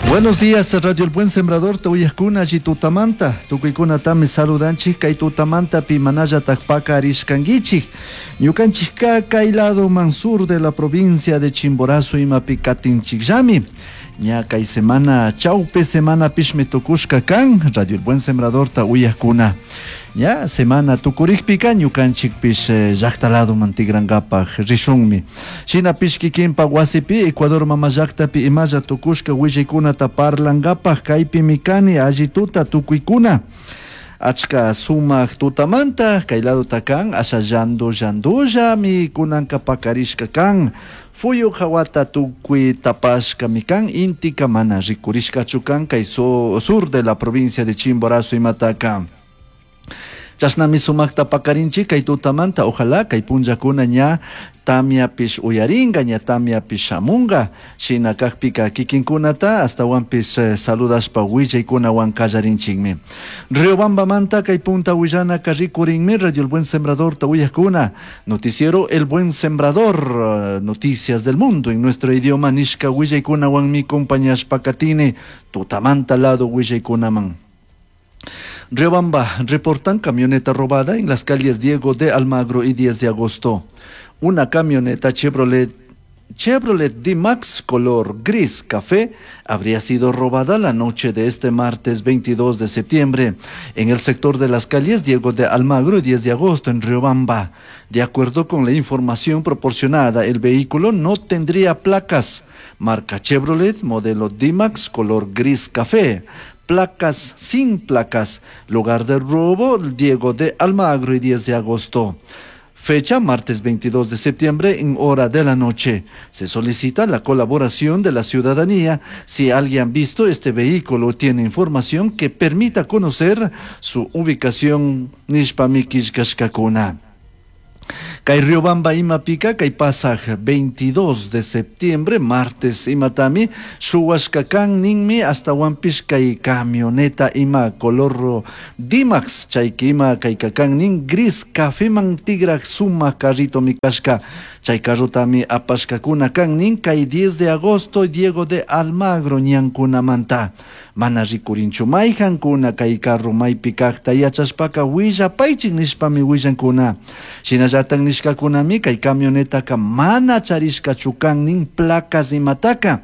Buenos días, Radio El Buen Sembrador, uyajkuna alli tutamanta, tukuykunatami saludanchik kay tutamantapi manallatak pakarishkankichik. Ñukanchikka kay ladoman sur de la provincia de Chimborazo imapi katinchikllami. Ña kay semana, chaupi semanapishmi tukushka kan, Radio El Buen Sembradorta uyajkuna. Ña semana tukurikpika ñukanchikpish llakta ladoman tikrankapaj rishunmi. Shinapish kikinpak wasipi Ecuador mama llaktapi imalla tukushka willaykunata parlankapaj kaypimi kani alli tuta tukuykuna. Achka sumak tutamanta kay ladota kan asha llandu llandullami kunanka pakarishka kan. Fuyu hawata tukuy tapashkami kan intika mana rikurishkachu kan kay sur de la provincia de Chimborazo imataka. Chashnami sumakta pakarinchik kay tutamanta, ojalá kay punllakuna ña tamiapish uyaringa, ña tamiapish shamunga, shina kakpika kikinkunata astawanpish saludashpa willaykunawan kallarinchikmi. Riobambamanta kay punta willanaka rikurinmi Radio El Buen Sembradorta uyajkuna, noticiero El Buen Sembrador, noticias del mundo en nuestro idioma nishka willaykunawanmi compañashpa katini tutamanta lado willaykunaman. Riobamba reportan camioneta robada en las calles Diego de Almagro y 10 de agosto. Una camioneta Chevrolet D-Max color gris café habría sido robada la noche de este martes 22 de septiembre en el sector de las calles Diego de Almagro y 10 de agosto en Riobamba. De acuerdo con la información proporcionada, el vehículo no tendría placas. Marca Chevrolet, modelo D-Max, color gris café. Placas sin placas. Lugar del robo, Diego de Almagro y 10 de agosto. Fecha, martes 22 de septiembre, en hora de la noche. Se solicita la colaboración de la ciudadanía. Si alguien ha visto este vehículo o tiene información que permita conocer su ubicación, nishpami killkashkakuna. Kay Riobamba imapika kay pasaj 22 de septiembre, martes imatami, shuwashka kan ninmi astawanpish kay camioneta ima color D-Max, chayki ima kay kakan nin gris cafeman tigrak suma carrito mi kashka, chay carrotami apashkakuna kan nin kay 10 de agosto Diego de Almagro ñankunamanta. Mana rikurinchu mayhankuna kay carro maypi kaqta yachashpaka willapaychik nishpami willankuna. Shinallatan nishkakunami kay camionetaka mana charishkachu kan nin placas imataka.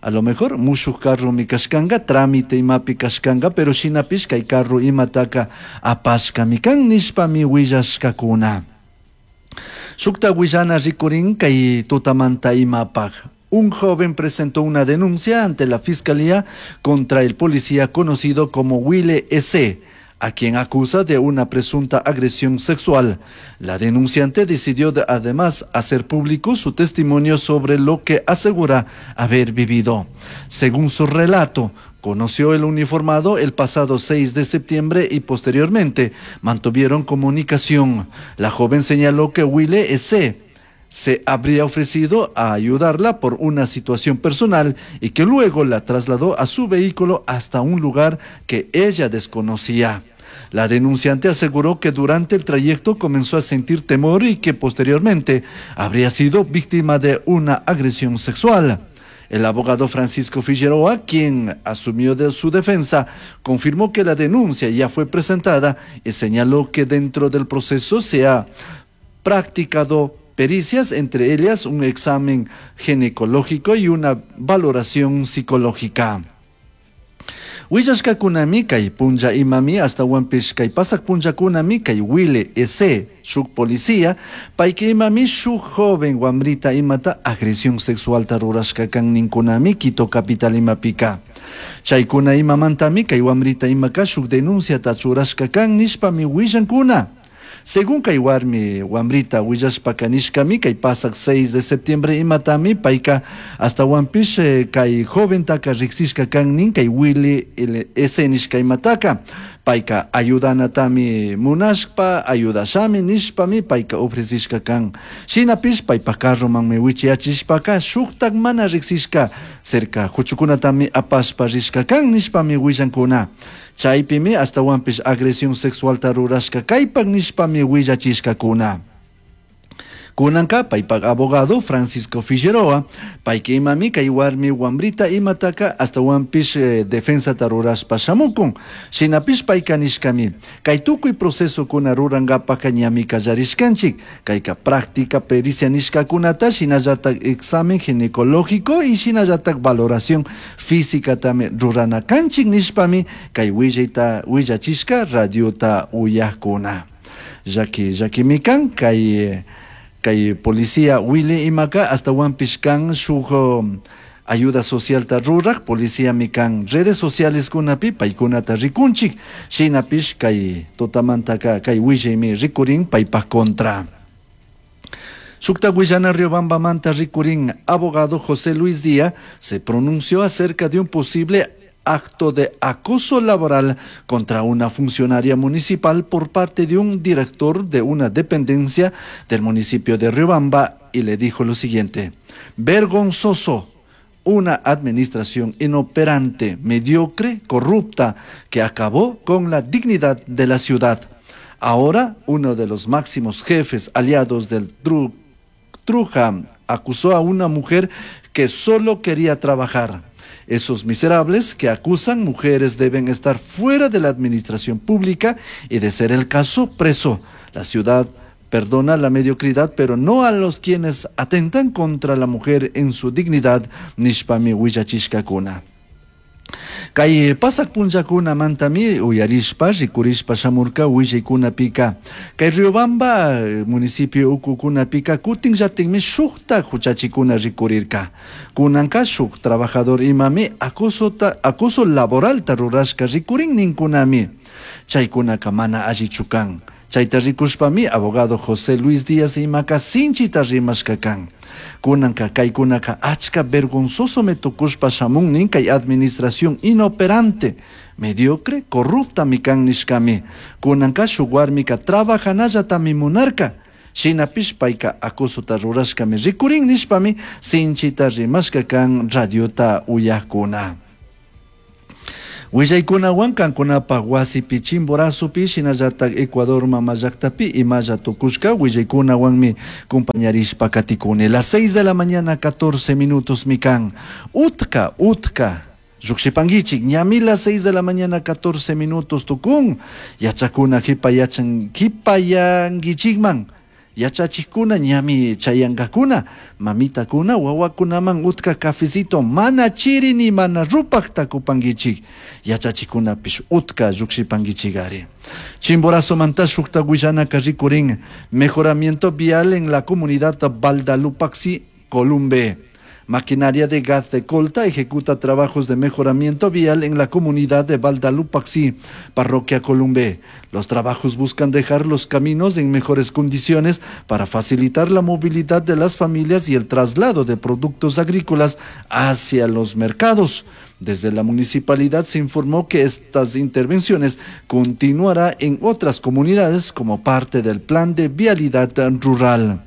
A lo mejor mushuk carro mi kashkanga, trámite imapi kashkanga, pero shinapish kay carro imataka apashkami kan nishpami willashkakuna. Shukta willana rikurin kay tutamanta imapaj. Un joven presentó una denuncia ante la fiscalía contra el policía conocido como Wille S., a quien acusa de una presunta agresión sexual. La denunciante decidió además hacer público su testimonio sobre lo que asegura haber vivido. Según su relato, conoció el uniformado el pasado 6 de septiembre y posteriormente mantuvieron comunicación. La joven señaló que Wille S. se habría ofrecido a ayudarla por una situación personal y que luego la trasladó a su vehículo hasta un lugar que ella desconocía. La denunciante aseguró que durante el trayecto comenzó a sentir temor y que posteriormente habría sido víctima de una agresión sexual. El abogado Francisco Figueroa, quien asumió de su defensa, confirmó que la denuncia ya fue presentada y señaló que dentro del proceso se ha practicado pericias, entre ellas un examen ginecológico y una valoración psicológica. Willashkakunami kay punlla imami astawanpish kay pasak punllakunami kay Wille S. shuk policía, payka imami shuk joven wamrita imata agresión sexualta rurashka kan ninkunami Quito capital imapika. Chaykuna imamantami kay wamrita imaka shuk denunciata churashka kan nishpami willankuna. Según kay warmi wamrita willashpaka nishkami kay pasak 6 de septiembre imatami payka astawanpish kay joventaka riksishka kan nin kay Willy S. nishka imataka. Payka ayudanatami munashpa ayudashami nishpami payka ofrecishka kan. Shinapish paypa carromanmi wichiyachishpaka shuktak mana riksishka cerca huchukunatami apashpa rishka kan nishpami willankuna. Chaypimi astawanpish agresión sexualta rurashka kaypak nishpami willachishkakuna. Kunanka paypak abogado Francisco Figueroa, payka imami kay warmi wambrita imataka ashtawanpish defensata rurashpa shamukun. Shinapish payka nishkami, kay tukuy procesokuna rurankapaka ñami kallarishkanchik, kayka práctica pericia nishkakunata shinallatak examen ginecológico y shinallatak valoración físicatami rurana kanchik nishpami kay willayta willachishka radiota uyakuna. Llaki llakimi kan kay kay policía Willy imaka ashtawanpish kan shuk ayuda socialta ruraj policiami kan redes sociales kunapi paykunata rikunchik, shinapish kay tutamantaka kay willaymi rikurin paypak contra. Shukta willana Riobambamanta rikurin abogado José Luis Díaz se pronunció acerca de un posible acto de acoso laboral contra una funcionaria municipal por parte de un director de una dependencia del municipio de Riobamba y le dijo lo siguiente: vergonzoso, una administración inoperante, mediocre, corrupta, que acabó con la dignidad de la ciudad. Ahora, uno de los máximos jefes aliados del Truja acusó a una mujer que solo quería trabajar. Esos miserables que acusan mujeres deben estar fuera de la administración pública y, de ser el caso, preso. La ciudad perdona la mediocridad, pero no a los quienes atentan contra la mujer en su dignidad, nishpami willachishkakuna. Kay pasak punllakunamantami uyarishpa rikurishpa shamurka willaykunapika. Kay Riobamba municipio ukukunapika kutinllatikmi shukta huchachikuna rikurirka. Kunanka shuk trabajador imami acoso laboralta rurashka rikurin ninkunami. Chaykunaka mana allichu kan. Chayta rikushpami abogado José Luis Díaz imaka sinchita rimashka kan. Kunanka kaykunaka achka vergonzoso me tukushpa shamun nin kay administración inoperante, mediocre, corrupta mi kan nishkami. Kunanka shuk warmika trabajanallatami munarka. Shinapish payka acosota rurashkami rikurin nishpami sinchita rimashka kan radiota uyakuna. Willaykunawan kankunapaj wasipi Chimborazopi shinallatak Ecuador mama llaktapi imalla tukushka willaykunawanmi compañarishpa katikuni. Las 6 de la mañana 14 minutos mi kan. Utka, utka. Llukshipankichik, ñami las 6 de la mañana 14 minutos tukun. Yachakuna hipayachan, hipayankichikman. Yachachikuna ñami chayankakuna, mamitakuna wawakunaman utka cafecito mana chiri ni mana rupak takupankichik. Yachachikunapish utka llukshipankichikari. Chimborazo manta shukta willanaka rikurin, mejoramiento vial en la comunidad Baldalupaxi, Columbe. Maquinaria de gas de Colta ejecuta trabajos de mejoramiento vial en la comunidad de Baldalupaxi, parroquia Columbe. Los trabajos buscan dejar los caminos en mejores condiciones para facilitar la movilidad de las familias y el traslado de productos agrícolas hacia los mercados. Desde la municipalidad se informó que estas intervenciones continuará en otras comunidades como parte del plan de vialidad rural.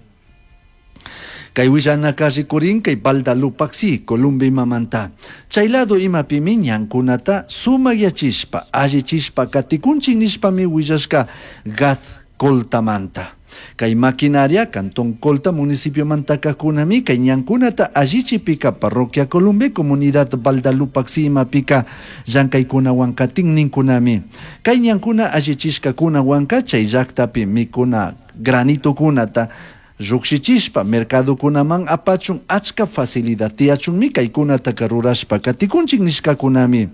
Kay willanaka rikurin kay Baldalupaxi, Columbe imamanta. Chay lado imapimi ñankunata sumakyachishpa, allichishpa katikunchik nishpami willashka Gaz Coltamanta. Kay maquinaria Cantón Colta municipio mantakakunami kay ñankunata allichipika parroquia Columbe comunidad Baldalupaxi imapika llankaykunawan katin ninkunami. Kay ñankuna allichishkakunawanka chay llaktapi mikuna granitokunata llukshichishpa mercadokunaman apachun achka facilidad tiyachunmi kaykunataka rurashpa katikunchik nishkakunami.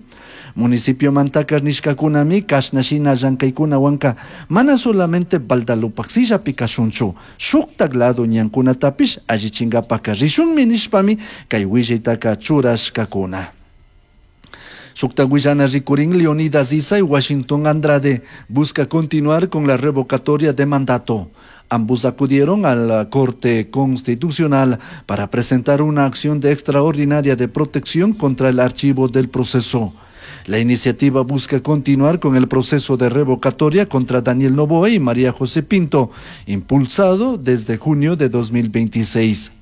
Municipio mantaka nishkakunami kashna shina llankaykunawanka mana solamente Baldalupaxillapi kashunchu, shuktak lado ñankunatapish allichinkapaka rishunmi nishpami kay willaytaka churashkakuna. Shukta willana rikurin Leonidas Iza y Washington Andrade busca continuar con la revocatoria de mandato. Ambos acudieron a la Corte Constitucional para presentar una acción de extraordinaria de protección contra el archivo del proceso. La iniciativa busca continuar con el proceso de revocatoria contra Daniel Noboa y María José Pinto, impulsado desde junio de 2026.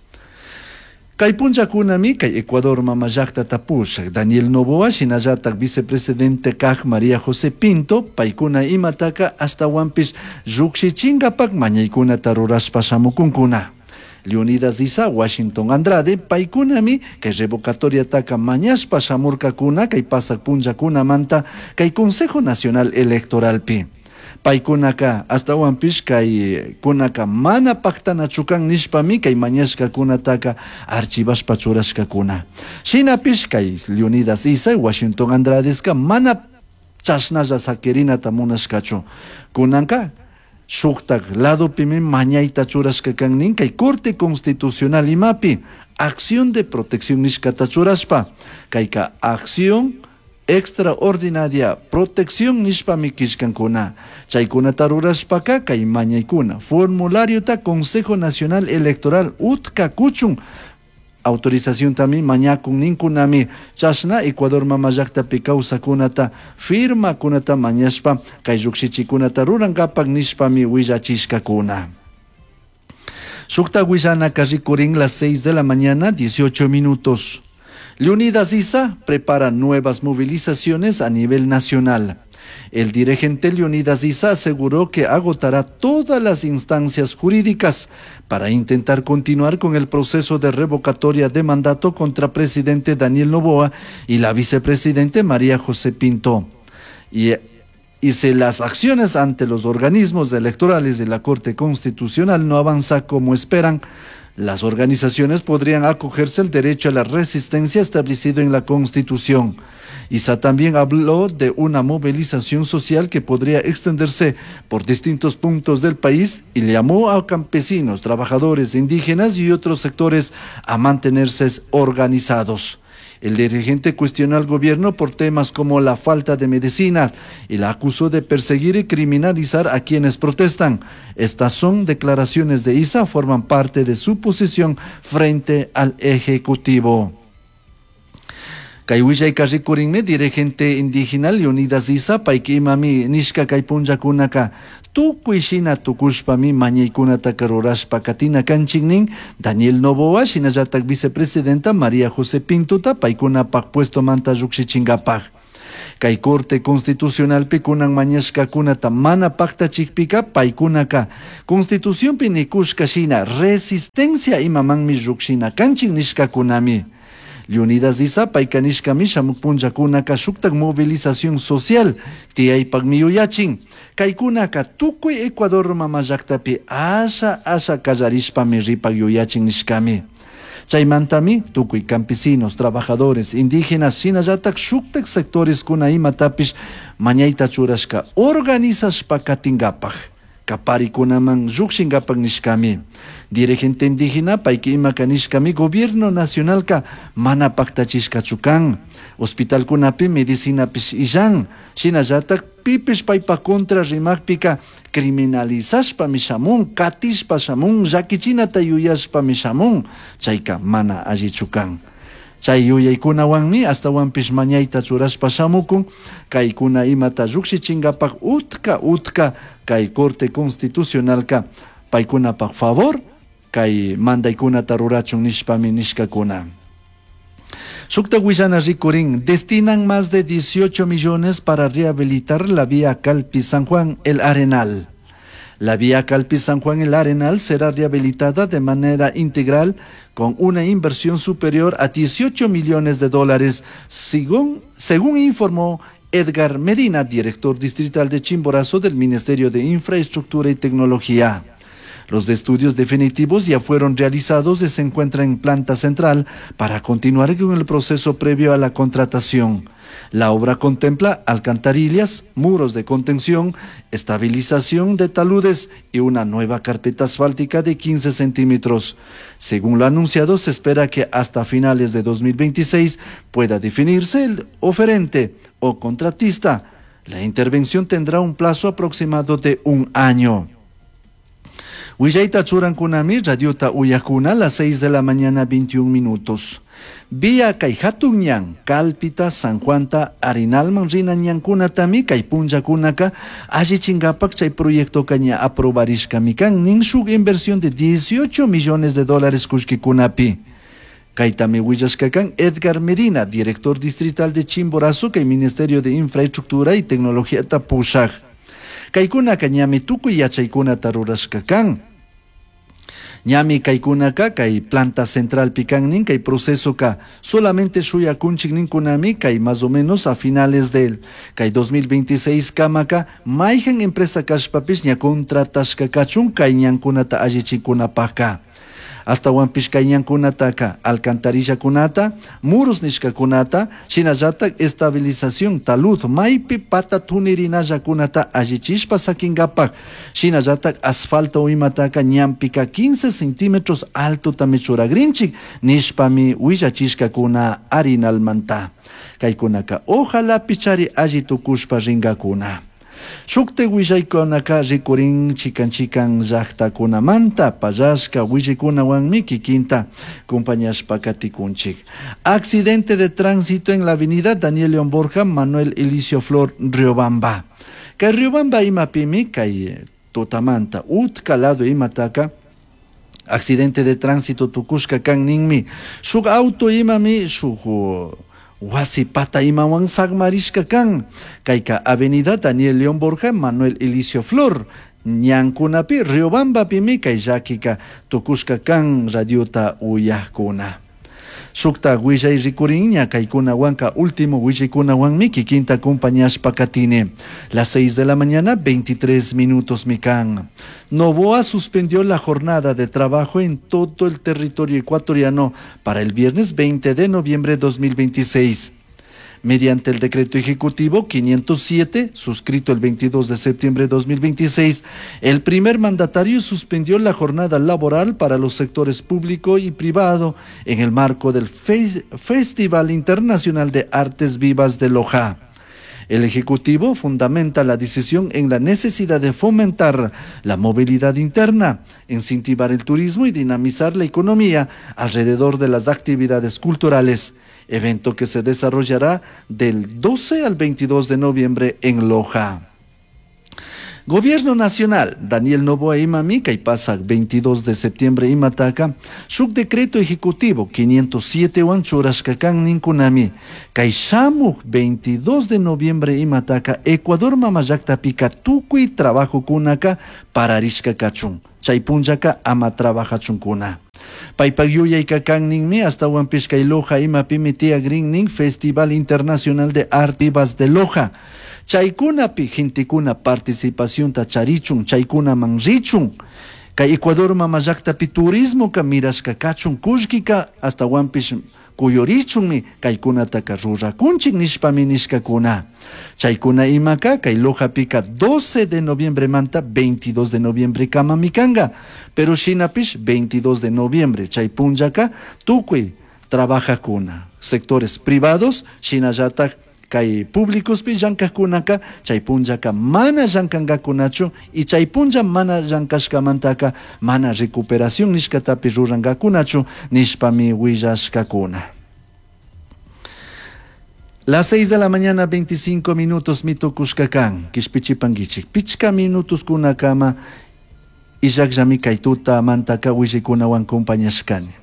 Kay punllakunami kay Ecuador mama llaktata pushak Daniel Noboa shinallatak vicepresidente kak María José Pinto paykuna imataka ashtawanpish llukshichinkapa mañaykunata rurashpa shamukunkuna. Leonidas Iza, Washington Andrade paykunami kay revocatoriataka mañashpa shamurkakuna kay pasak punllakunamanta kay Consejo Nacional Electoralpi. Paykunaka ashtawanpish kaykunaka mana paktanachu kan nishpami kay mañashkakunataka archivashpa churashkakuna. Shinapish kay Leonidas Iza, Washington Andradeska mana chashnalla saquirinata munashkachu. Kunanka shuktak ladopimi mañayta churashka kan nin kay Corte Constitucional imapi acción de protección nishkata churashpa kayka acción extraordinaria protección nishpami killkankuna. Chaykunata rurashpaka kay mañaykuna formulariota Consejo Nacional Electoral utka kuchun autorizacióntami mañakun ninkunami chashna Ecuador mama llaktapi kawsakunata firmakunata mañashpa kay llukshichikunata rurankapak nishpami willachishkakuna. Shukta willanaka rikurin las 6 de la mañana, 18 minutos. Leonidas Iza prepara nuevas movilizaciones a nivel nacional. El dirigente Leonidas Iza aseguró que agotará todas las instancias jurídicas para intentar continuar con el proceso de revocatoria de mandato contra presidente Daniel Noboa y la vicepresidente María José Pinto. Y si las acciones ante los organismos electorales de la Corte Constitucional no avanzan como esperan, las organizaciones podrían acogerse al derecho a la resistencia establecido en la Constitución. Iza también habló de una movilización social que podría extenderse por distintos puntos del país y le llamó a campesinos, trabajadores, indígenas y otros sectores a mantenerse organizados. El dirigente cuestionó al gobierno por temas como la falta de medicinas y la acusó de perseguir y criminalizar a quienes protestan. Estas son declaraciones de Iza, forman parte de su posición frente al Ejecutivo. Kay willayka rikurinmi dirigente indígena Leonidas Iza payka imami nishka kay punllakunaka tukuy shina tukushpami mañaykunataka rurashpa katina kanchik nin Daniel Noboa shinallatak vicepresidenta María José Pintuta paykunapak puestomanta llukshichinkapaj. Kay Corte Constitucionalpi kunan mañashkakunata mana paktachikpika paykunaka Constitucionpi nikushka shina resistencia imamanmi llukshina kanchik nishkakunami. Leonidas Iza payka nishkami shamuk punllakunaka shuktak movilización social tiyaypakmi yuyachin. Kaykunaka tukuy Ecuador mama llaktapi asha asha kallarishpami ripak yuyachin nishkami. Chaymantami tukuy campesinos, trabajadores, indígenas, shinallatak shuktak sectores kuna imatapish mañayta churashka organizashpa katinkapak. Kaparikunaman llukshinkapak nishkami. Dirigente indígena payka imaka nishkami gobierno nacionalka mana paktachishkachu kan. Hospitalkunapi medicinapish illan. Shinallatak pipish paypa contra rimakpika criminalizashpami shamun, katishpa shamun, llakichinata yuyashpami shamun. Chayka mana allichu kan. Chay yuyaykunawanmi ashtawanpish mañayta churashpa shamukun, kaykuna imata llukshichinkapaj utka utka kay Corte Constitucionalka paykunapak favor kay mandaykunata rurachun nishpami nishkakuna. Shukta willana rikurin, destinan más de 18 millones para rehabilitar la vía Calpi-San Juan El Arenal. La vía Calpi-San Juan El Arenal será rehabilitada de manera integral con una inversión superior a 18 millones de dólares, según informó Edgar Medina, director distrital de Chimborazo del Ministerio de Infraestructura y Tecnología. Los estudios definitivos ya fueron realizados y se encuentran en planta central para continuar con el proceso previo a la contratación. La obra contempla alcantarillas, muros de contención, estabilización de taludes y una nueva carpeta asfáltica de 15 centímetros. Según lo anunciado, se espera que hasta finales de 2026 pueda definirse el oferente o contratista. La intervención tendrá un plazo aproximado de un año. Willayta churankunami, radiota uyakuna, las 6 de la mañana, 21 minutos. Vía kay hatun ñan, Calpita, San Juanta, Arenalman rina ñankunatami, kay punllakunaka, allichinkapak chay proyectoka ña aprobarishkami kan, nin shuk inversión de 18 millones de dólares kullkikunapi. Kaytami willashka kan Edgar Medina, director distrital de Chimborazo, kay Ministerio de Infraestructura y Tecnología pushak. Kaykunaka ñami tukuy yachaykunata rurashka kan. Ñami kaykunaka kay planta centralpi kan nin kay procesoka solamente shuyakunchik ninkunami kay más o menos a finales del kay 2026 kamaka mayhan empresa kashpapish ña contratashka kachun kay ñankunata allichinkunapaka. Astawanpish kay ñankunataka alcantarillakunata, muros nishkakunata, shinallatak estabilización talud maypi pata tunirinallakunata allichishpa sakinkapak, shinallatak asfalto imataka ñanpika 15 centímetros altotami churagrinchik nishpami willachishkakuna arinalmanta. Kaykunaka ojalá pichari alli tukushpa rinkakuna. Shukti willaykunaka rikurin chikan chikan llaqtakunamanta pallashka willaykunawanmi kikinta compañashpa katikunchik. Accidente de tránsito en la avenida Daniel León Borja, Manuel Elicio Flor, Riobamba. Kay Riobamba imapimi kay tutamanta utka lado imataka accidente de tránsito tukushka kan ninmi. Shuk auto imami shuk wasi pata imawan sagmarishka kan. Kayka avenida Daniel León Borja, Manuel Elicio Flor, ñankunapi Riobambapimi kay llakika tukushka kan radiota uyakuna. Shukta willay rikurinña kaykunawanka último willaykunawanmi kikinta acompañashpa katini. Las 6 de la mañana, 23 minutos mikan. Noboa suspendió la jornada de trabajo en todo el territorio ecuatoriano para el viernes 20 de noviembre de 2026. Mediante el decreto ejecutivo 507, suscrito el 22 de septiembre de 2026, el primer mandatario suspendió la jornada laboral para los sectores público y privado en el marco del Festival Internacional de Artes Vivas de Loja. El Ejecutivo fundamenta la decisión en la necesidad de fomentar la movilidad interna, incentivar el turismo y dinamizar la economía alrededor de las actividades culturales, evento que se desarrollará del 12 al 22 de noviembre en Loja. Gobierno Nacional, Daniel Noboa imami, kay pasak 22 de septiembre imataka, shuk decreto ejecutivo 507 wan churashka kan ninkunami, kay shamuj 22 de noviembre imataka, Ecuador mama llaktapika tukuy trabajo kunaka pararishka kachun, chay punllaka ama trabajachunkuna. Paypak yuyayka kan ninmi astawanpish kay Loja imapimi tiyagrin nin Festival Internacional de Arte Vivas de Loja. Chaykunapi gentekuna participacionta charichun, chaykunaman richun. Kay Ecuador mama llaktapi turismoka mirashka kachun kullkika astawanpish kuyurichunmi kaykunataka rurakunchik nishpami nishkakuna. Chaykuna imaka kay Lojapika 12 de noviembre manta 22 de noviembre kamami kanka. Pero shinapish 22 de noviembre chay punllaka tukuy trabajakuna. Sectores privados shinallatak kay públicospi llankajkunaka chay punllaka mana llankankakunachu y chay punlla mana llankashkamantaka mana recuperación nishkatapi rurankakunachu nishpami willashkakuna. Las 6 de la mañana, 25 minutos mitukushkakan, kishpichipankichik, pichka minutos kunakama illakllami kay tutamantaka willaykunawan compañashkani.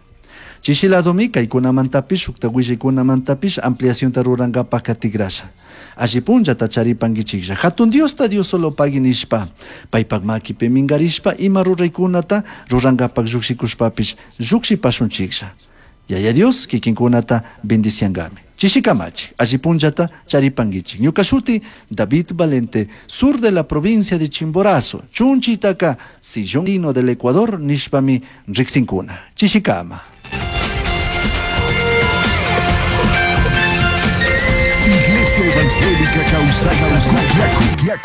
Chishiladomi kaykunamantapish shukta willaykunamantapish ampliacionta rurankapak katigrasha. Alli punllata charipankichiklla. Hatun Diosta Dios solo pagui nishpa. Paypak makipi minkarishpa ima ruraykunata rurankapak llukshikushpapish llukshipashunchiklla. Yaya Dios kikinkunata bendiciangami. Chishikamachik, alli punllata charipankichik. Ñuka shuti David Valente, sur de la provincia de Chimborazo, Chunchitaka, sillón del Ecuador, nishpami riksinkuna. Chishikama. Iglesia Evangélica Causay,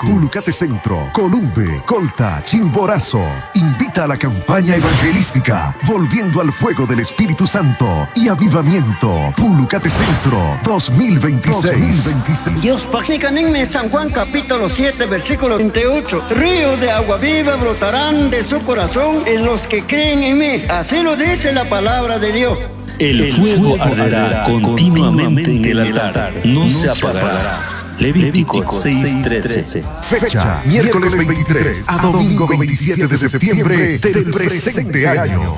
Pulucate Centro, Columbe, Colta, Chimborazo. Invita a la campaña evangelística, volviendo al fuego del Espíritu Santo y avivamiento. Pulucate Centro 2026. Dios Paxicaninme, San Juan capítulo 7, versículo 28. Ríos de agua viva brotarán de su corazón en los que creen en mí. Así lo dice la palabra de Dios. El fuego arderá continuamente en el altar, no se apagará. Levítico 6:13. Fecha, miércoles 23 a domingo 27 de septiembre del presente año.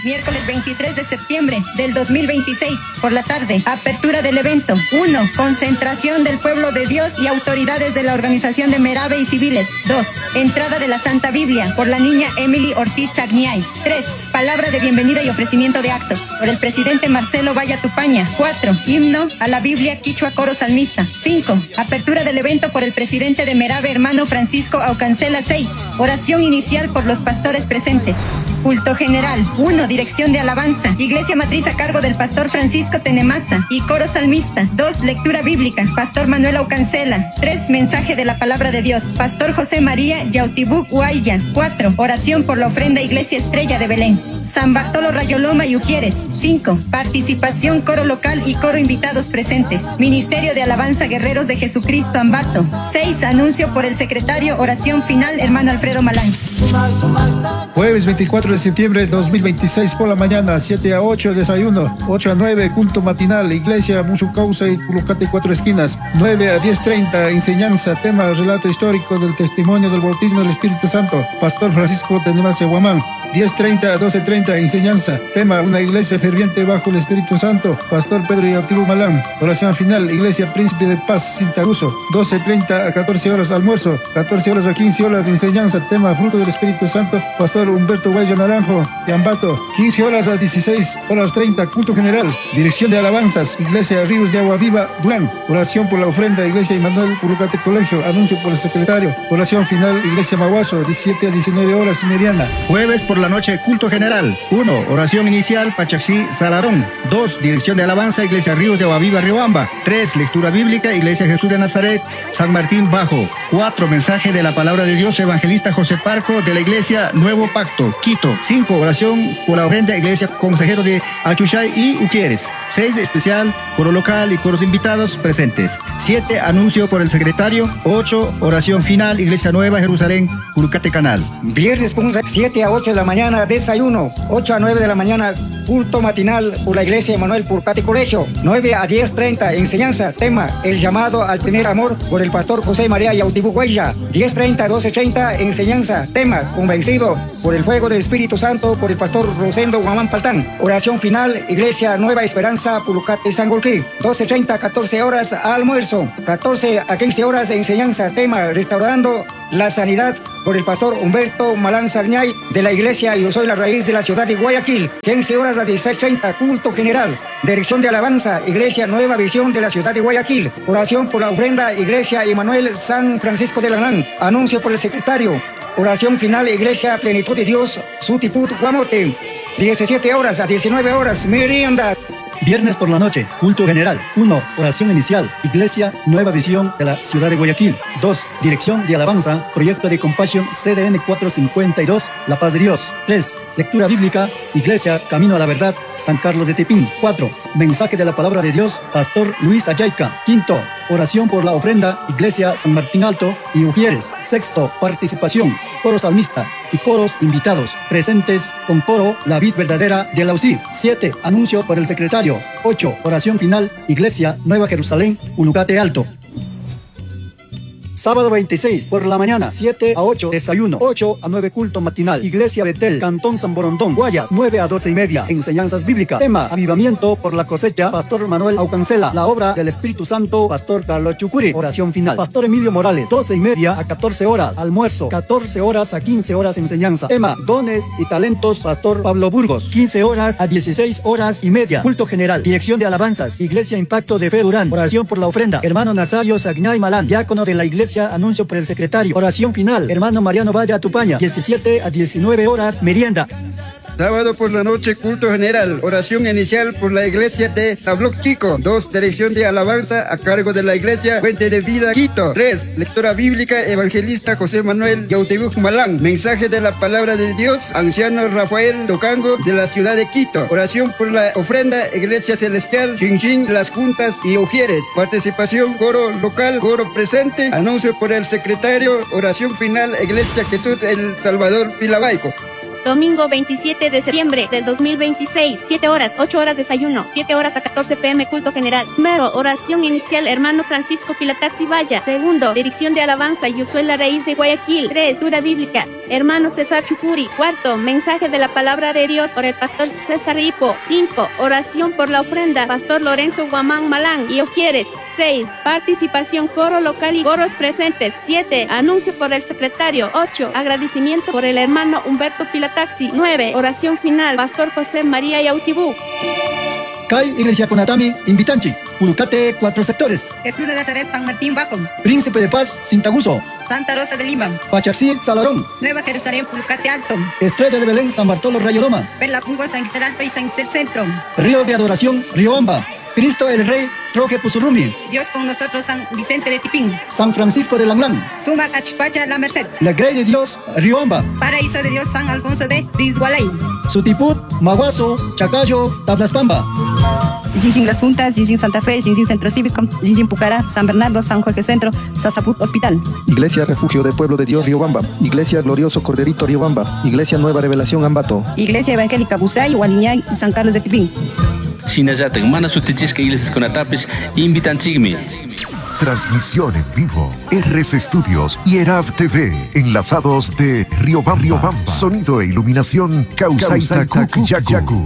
Miércoles 23 de septiembre del 2026 por la tarde. Apertura del evento. 1. Concentración del pueblo de Dios y autoridades de la organización de Merabe y civiles. 2. Entrada de la Santa Biblia por la niña Emily Ortiz Sagniay. 3. Palabra de bienvenida y ofrecimiento de acto por el presidente Marcelo Valla Tupaña. 4. Himno a la Biblia Quichua Coro Salmista. 5. Apertura del evento por el presidente de Merabe, hermano Francisco Aucancela. 6. Oración inicial por los pastores presentes. Culto general. 1. Dirección de alabanza. Iglesia matriz a cargo del pastor Francisco Tenemaza y coro salmista. 2. Lectura bíblica. Pastor Manuel Aucancela. 3. Mensaje de la palabra de Dios. Pastor José María Yautibuk Huaya. 4. Oración por la ofrenda Iglesia Estrella de Belén. San Bartolo Rayoloma y Ujieres. 5. Participación coro local y coro invitados presentes. Ministerio de Alabanza Guerreros de Jesucristo Ambato. 6. Anuncio por el secretario. Oración final, hermano Alfredo Malán. Jueves 24 de septiembre de 2026 por la mañana, 7 a 8, desayuno, 8 a 9, culto matinal, iglesia, Musucausa y Pulucate Cuatro Esquinas, 9 a 10:30, enseñanza, tema, relato histórico del testimonio del bautismo del Espíritu Santo, Pastor Francisco Tenemacia Guamán, 10:30 a 12:30, enseñanza, tema, una iglesia ferviente bajo el Espíritu Santo, Pastor Pedro Yautibu Malán, oración final, iglesia Príncipe de Paz, Cintaruso, 12:30 a 14 horas, almuerzo, 14 horas a 15 horas, enseñanza, tema, fruto del Espíritu Santo, Pastor Humberto Guaya Naranjo, de Ambato, 15 horas a 16:30, culto general, dirección de alabanzas, iglesia Ríos de Agua Viva, Durán, oración por la ofrenda, iglesia Emanuel Pulucate Colegio, anuncio por el secretario, oración final, iglesia Maguazo, 17 a 19 horas, meriana. Jueves por la noche, culto general, 1, oración inicial, Pachaxí, Salarón, 2, dirección de alabanza, iglesia Ríos de Agua Viva, Riobamba, 3, lectura bíblica, iglesia Jesús de Nazaret, San Martín Bajo, 4, mensaje de la palabra de Dios, evangelista José Parco, de la iglesia Nuevo Pacto, Quito, 5, oración por la ofrenda, iglesia consejero de Achuchay y Ujieres, 6, especial, coro local y coros invitados presentes, 7, anuncio por el secretario, 8, oración final, iglesia Nueva Jerusalén, Curucate Canal. Viernes 7 a 8 de la mañana, desayuno, 8 a 9 de la mañana, culto matinal por la iglesia Emanuel Purcate Colegio, 9 a 10:30, enseñanza, tema, el llamado al primer amor por el pastor José María Yautibú Huella, 10:30 a 12:30, enseñanza, tema, convencido por el fuego del Espíritu Santo por el pastor Rosendo Guamán Paltán, oración final, iglesia Nueva Esperanza, Pulucate, Sangolquí, 12:30 a 14 horas, almuerzo, 14 a 15 horas, enseñanza, tema, restaurando la sanidad por el pastor Humberto Malán Sarñay de la iglesia Yo Soy la Raíz de la ciudad de Guayaquil, 15 horas a 16:30, culto general, dirección de alabanza, iglesia Nueva Visión de la ciudad de Guayaquil, oración por la ofrenda, iglesia Emanuel San Francisco de Lanán, anuncio por el secretario, oración final, iglesia Plenitud de Dios, Sutiput, Guamote, 17 horas a 19 horas, merienda. Viernes por la noche, culto general. 1. Oración inicial, Iglesia Nueva Visión de la Ciudad de Guayaquil. 2. Dirección de alabanza, Proyecto de Compassion CDN 452, La Paz de Dios. 3. Lectura bíblica, Iglesia Camino a la Verdad, San Carlos de Tepín. 4. Mensaje de la Palabra de Dios, Pastor Luis Ayayca. 5. Oración por la ofrenda, Iglesia San Martín Alto y Ujieres. 6. Participación, coro salmista y coros invitados, presentes con coro La Vid Verdadera de la UCI. 7. Anuncio por el secretario. 8. Oración final, Iglesia Nueva Jerusalén, Ulucate Alto. Sábado 26, por la mañana, 7 a 8, desayuno, 8 a 9, culto matinal, Iglesia Betel, Cantón San Borondón, Guayas, 9 a 12 y media, enseñanzas bíblicas, tema, avivamiento por la cosecha, Pastor Manuel Aucancela, la obra del Espíritu Santo, Pastor Carlos Chucuri, oración final, Pastor Emilio Morales, 12 y media a 14 horas, almuerzo, 14 horas a 15 horas, enseñanza, tema, dones y talentos, Pastor Pablo Burgos, 15 horas a 16 horas y media, culto general, dirección de alabanzas, Iglesia Impacto de Fe Durán, oración por la ofrenda, hermano Nazario Sagnay Malán, diácono de la Iglesia, anuncio por el secretario, oración final, hermano Mariano Valla Tupaña, 17 a 19 horas, merienda. Sábado por la noche, culto general, oración inicial por la iglesia de Sabloc Chico. 2, dirección de alabanza a cargo de la iglesia Fuente de Vida Quito. 3, lectura bíblica, evangelista José Manuel Yautebuk Malán. Mensaje de la palabra de Dios, anciano Rafael Tocango de la ciudad de Quito. Oración por la ofrenda, iglesia celestial, Chinchín, Las Juntas y Ujieres. Participación, coro local, coro presente, anuncio por el secretario, oración final, iglesia Jesús el Salvador Pilabaico. Domingo 27 de septiembre del 2026, 7 horas, 8 horas desayuno, 7 horas a 14 pm culto general. Primero, oración inicial, hermano Francisco Pilataxi Valla. Segundo, dirección de alabanza, Yusuela Raíz de Guayaquil. 3, dura bíblica, hermano César Chucuri. Cuarto, mensaje de la palabra de Dios por el pastor César Hipo. 5, oración por la ofrenda, pastor Lorenzo Guamán Malán. Y quieres. 6, participación coro local y coros presentes. 7, anuncio por el secretario. 8, agradecimiento por el hermano Humberto Pilataxi. 9, oración final, pastor José María Yautibú. Kai Iglesia Conatami, Invitanchi, Pulucate, cuatro sectores. Jesús de Nazaret, San Martín Bajo. Príncipe de Paz, Cintaguso. Santa Rosa de Lima. Pachaxí, Salarón. Nueva Jerusalén, Pulucate Alto. Estrella de Belén, San Bartolo, Rayoloma. Perla Pungua, San Gisel Alto y San Gisel Centro. Ríos de Adoración, Riobamba. Cristo el Rey, Troje Pusurrumi. Dios con nosotros, San Vicente de Tipín. San Francisco de Langlán. Suma Cachipacha, La Merced. La Grey de Dios, Riobamba. Paraíso de Dios, San Alfonso de Rizgualay. Sutiput, Maguazo, Chacayo, Tablaspamba. Jinjin Las Juntas, Jinjin Santa Fe, Jinjin Centro Cívico, Jinjin Pucará, San Bernardo, San Jorge Centro, Sasaput Hospital. Iglesia Refugio del Pueblo de Dios, Riobamba. Iglesia Glorioso Corderito, Riobamba. Iglesia Nueva Revelación, Ambato. Iglesia Evangélica Busay, Hualiñay, San Carlos de Tipín. Shinallatak mana sutichishka iglesiaskunatapish invitanchikmi. Transmisión en vivo, RC Studios y ERAV TV, enlazados de Riobamba, Sonido e iluminación, Causaita Yaku.